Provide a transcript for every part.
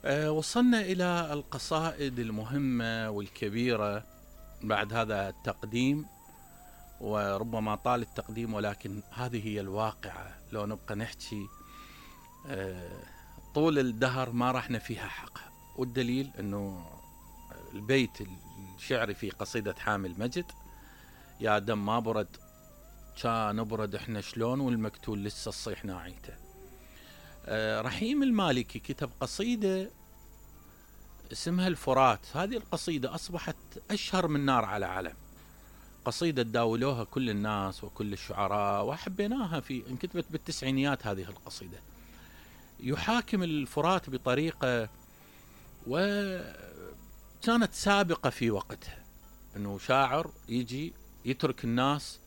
وصلنا إلى القصائد المهمة والكبيرة بعد هذا التقديم، وربما طال التقديم ولكن هذه هي الواقعة. لو نبقى نحكي طول الدهر ما راح نفيها حقها، والدليل أنه البيت الشعري في قصيدة حامي المجد: يا دم ما برد كان نبرد احنا شلون والمقتول لسه الصيح ناعيته. رحيم المالكي كتب قصيدة اسمها الفرات. هذه القصيدة أصبحت أشهر من نار على علم، قصيدة تداولوها كل الناس وكل الشعراء وحبيناها، في انكتبت بالتسعينيات هذه القصيدة. يحاكم الفرات بطريقة وكانت سابقة في وقتها، أنه شاعر يجي يترك الناس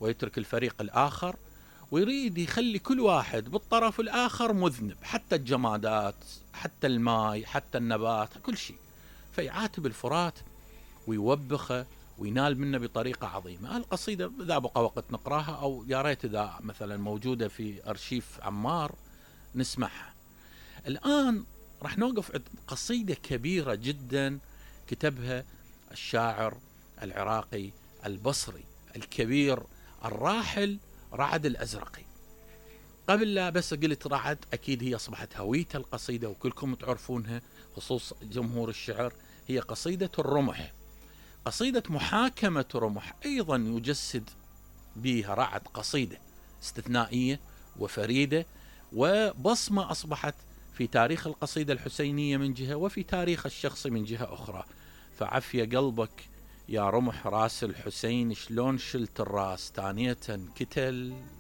ويترك الفريق الآخر ويريد يخلي كل واحد بالطرف الآخر مذنب، حتى الجمادات، حتى الماء، حتى النبات، كل شيء. فيعاتب الفرات ويوبخه وينال منه بطريقة عظيمة. القصيدة إذا بقى وقت نقراها، أو يا ريت إذا مثلا موجودة في أرشيف عمار نسمعها. الآن راح نوقف عند قصيدة كبيرة جدا كتبها الشاعر العراقي البصري الكبير الراحل رعد الأزرقي. قبل لا بس قلت رعد، أكيد هي أصبحت هوية القصيدة وكلكم تعرفونها خصوص جمهور الشعر. هي قصيدة الرمح، قصيدة محاكمة رمح، أيضا يجسد بها رعد قصيدة استثنائية وفريدة وبصمة أصبحت في تاريخ القصيدة الحسينية من جهة، وفي تاريخ الشخص من جهة أخرى. فعفية قلبك يا رمح راس الحسين، شلون شلت الراس تانية كتل